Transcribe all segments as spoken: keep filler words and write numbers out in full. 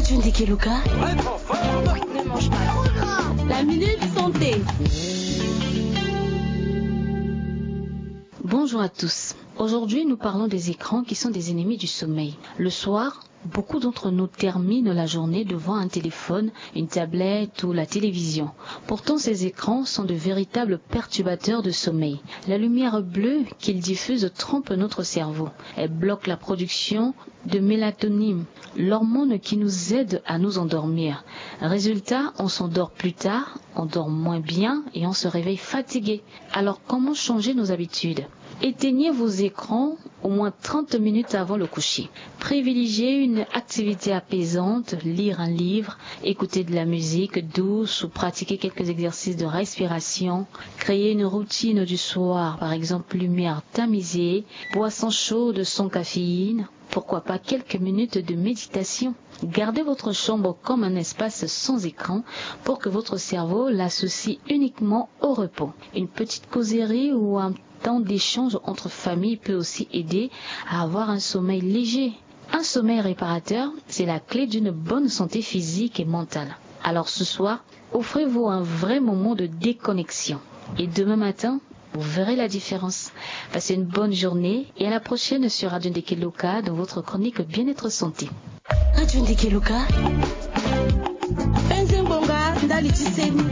Tunde Keluka. Ne mange pas. La minute santé. Bonjour à tous. Aujourd'hui, nous parlons des écrans qui sont des ennemis du sommeil. Le soir, beaucoup d'entre nous terminent la journée devant un téléphone, une tablette ou la télévision. Pourtant, ces écrans sont de véritables perturbateurs de sommeil. La lumière bleue qu'ils diffusent trompe notre cerveau. Elle bloque la production de mélatonine, l'hormone qui nous aide à nous endormir. Résultat, on s'endort plus tard, on dort moins bien et on se réveille fatigué. Alors, comment changer nos habitudes ? Éteignez vos écrans au moins trente minutes avant le coucher. Privilégiez une activité apaisante, lire un livre, écouter de la musique douce ou pratiquer quelques exercices de respiration. Créez une routine du soir, par exemple lumière tamisée, boisson chaude sans caféine, pourquoi pas quelques minutes de méditation. Gardez votre chambre comme un espace sans écran pour que votre cerveau l'associe uniquement au repos. Une petite causerie ou un temps d'échange entre familles peut aussi aider à avoir un sommeil léger. Un sommeil réparateur, c'est la clé d'une bonne santé physique et mentale. Alors ce soir, offrez-vous un vrai moment de déconnexion. Et demain matin, vous verrez la différence. Passez une bonne journée et à la prochaine sur Radio Ndeke Loka dans votre chronique Bien-être Santé. Radio Ndeke Loka. Penze ngbonga ndali ti seni.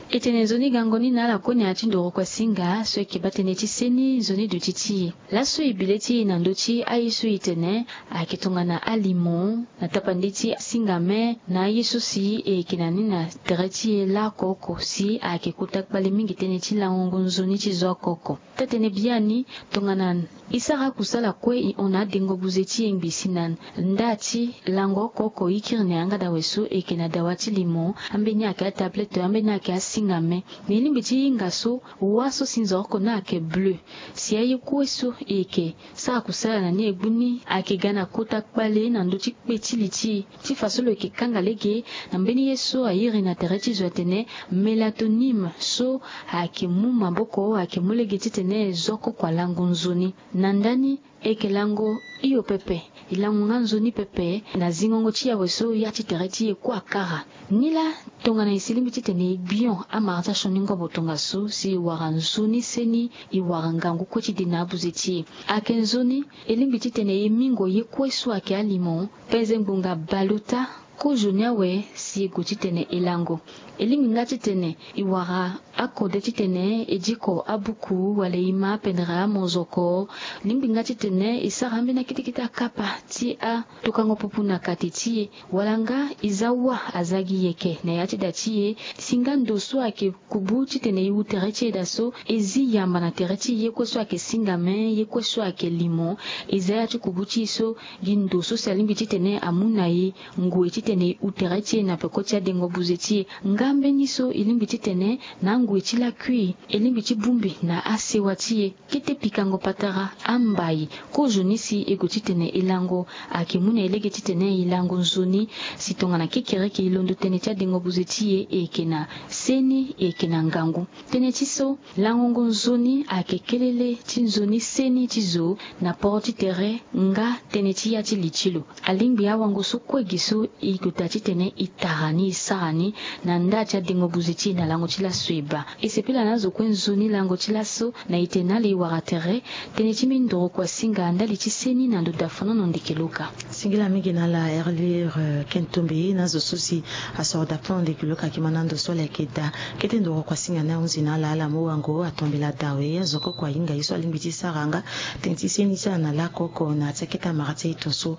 E tene nzoni gango ni na ala kue na ya ti ndoro kuasinga so e ke baa tënë ti seni nzoni duti ti e. Laso e bi le ti e na ndö ti aye so e tene ayeke tongana alimo na tapande ti asingame na aye so si e yeke na ni na tere ti e laoko oko si ayeke kota kpale mingi tënë ti langongo nzoni ti zo oko oko. Taa-tënë biani tongana e sara akusala kue e hon na adengo buze ti e ngbi si na nda ti lango oko oko e kiri na yanga dawe so e yeke na dawa ti limo, ambeni ayeke atablette, ambeni ayeke asingame. Me e lingbi ti hinga so wa so si nzoro oko ni ayeke bleu. Si aye kue so e yeke sara kusala na ni e gbu ni ayeke ga na kota kpale na ndö ti kpe ti li ti e. Ti fa so lo yeke kanga lege na mbeni ye so a iri na tere ti zo atene mélatonine so ayeke mu maboko ayeke mu lege titene zo oko oko alango nzoni. Na ndani e yeke lango hio pepe, e lango nga nzoni pepe na zingongo ti awe so ya ti tere ti e kue akara. Nilaa tongana e si lingbi titene e gbion amara ti asioni ngobo tongaso si e wara nzoni seni, e wara ngangu kue ti de na abuze ti e. Ayeke nzoni e lingbi titene e mingo ye kue so ayeke alimo, penze ngbonga baleota, kozo ni awe si e gue titene e lango. E lingbi nga titene e wara akode titene e diko abuku wala e ma apendere amozoko. E lingbi nga titene e sara ambeni akete kete akapa ti atokango pupu na kate ti e. Wala nga e za wa aza gi yeke na ya ti da ti e. Si nga ndo so ayeke kubu titene e hu tere ti e daa so, e zi yamba na tere ti e ye kue so ayeke singame, ye kue so ayeke limo. E za ya ti kubu ti e so gi ndo so si alingbi titene amu na e ngoi titene e hu tere ti e na peko ti adengo buze ti e. Nga mbeni so e lingbi titene na angoi ti lakui e lingbi ti bongbi na asewa ti e. Kete pikango patara, ambai, kozo ni si e gue titene e lango ayeke mu na e lege titene e lango nzoni. Si tongana kekereke e londo tënë ti adengo buze ti e, e yeke na seni, e yeke na ngangu. Tënë ti so, langongo nzoni ayeke kelele ti nzoni seni ti zo na poro ti tere nga tënë ti ya ti li ti lo. Alingbi awango so kue gi so e gue daa titene e tara ni, e sara ni na nda ti adengo buze ti e na lango ti laso e baa. E sepela na azo kue nzoni lango ti laso na ete na ala e wara tere tënë ti mindoro kuasinga ndali ti seni na ndo dafonono ndeke loka. Singila mingi na ala Erlire, eh, Kentombe na azo so si asoro dafonono ndeke loka, ayeke ma na ndo so ala yeke daa. Kete ndoro kuasinga ni ahunzi na ala, ala mu wango atombela dawe azo oko oko ahinga ye so alingbi ti sara nga tënë ti seni ti ala na laoko oko na ya ti akete amara ti aye tongaso.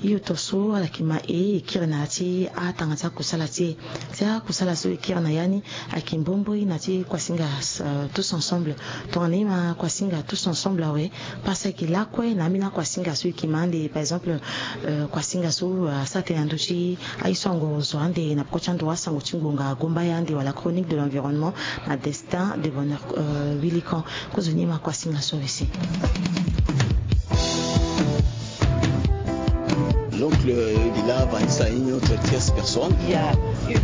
Hio tongaso ala yeke ma e, e kiri na ya ti atanga ti akusala ti e. Ti akusala so e kiri na ya ni ayeke mbomboi na ti kuasinga, euh, tous ensemble. Tongana e ma kuasinga tous ensemble awe, parce que lakue na ambeni akuasinga so e yeke ma ande, par exemple, euh, kuasinga so, euh, asara tënë na ndö ti aye so angoro zo ande na peko ti ando asango ti ngbonga agombaya ande wala chronique de l'environnement na Destin de Bonheur, euh, Wilikan. Kozoni e ma kuasinga so awe si. L'oncle Lila Vanessa, une autre tierce personne. Il y a une